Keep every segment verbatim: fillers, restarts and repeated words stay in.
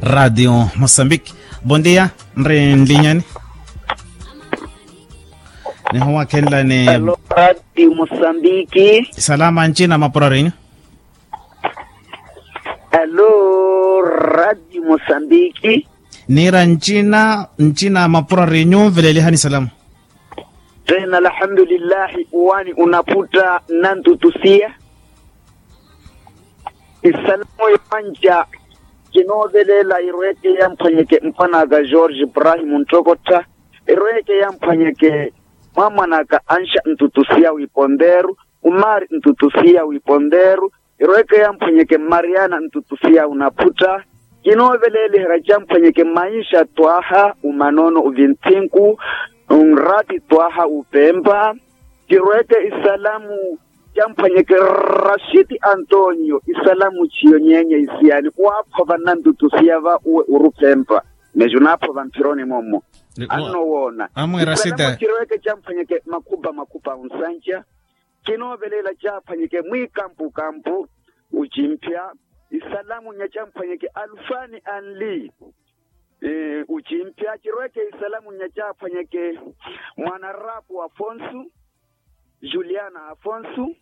Ratio mosambiki. Bon dia. Nri nlinyani? Nihuwakhenlani. Alo, ratio mosambiki. Salama ncina mapurarinyu. Alo, ratio mosambiki. Niira ncina ncina mapurarinyu nveleelihani salama. Tena alhamdulillahi wani unaputta nantutusiya. Isalamu yanja kinoovelela irweke yamphwanyeke mpwanaka george ibrahimu nttokottha. Irweke yamphwanyeke mwamwanaka ansha ntutusiya wiponderu. Umari ntutusiya wiponderu. Irweke yamphwanyeke mmariana ntutusiya unaphutta. Kinooveleliherya camphwanyeke mainsha twaha umanoono uvintthinku. Nrati twaha upempa. Kirweke isalamu camphwanyeke rashiti antonio isalamu chiyo nyenya isiyani waakhova nnantutusiya va uwe urupempa. Meju naaphova mphironi mommo. Anno woona. Isalamu kirweke camphwanyeke makhupha makhupha unsanca. Kinoovelela caaphwanyeke mwiikampukampu. Ucimphya isalamu nya camphwanyeke alufani anli. Ucimphya cirweke isalamu nya caaphwanyeke mwanarapu afonsu. Juliana afonsu.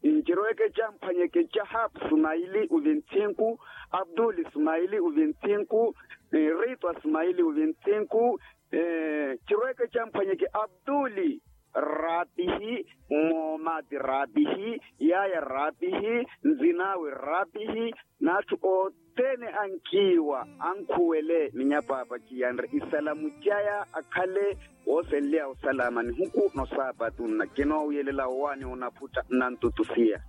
Cirweke camphwanyeke cahap sumaili uvintthinku. Abduli sumaili uvintthinku. Ritwa sumaili uvintthinku. Cirweke camphwanyeke abduli raapihi. Moomati raapihi. Yaya raapihi. Nzinaawe raapihi. N'atthu othene ankiiwa ankhuwele ni nyapaapa kiyanre isalamu caya akhale woosenlya osalama nihuku nosaapatu nna kinoowiyelela owaani onaphutta nnantutusiya.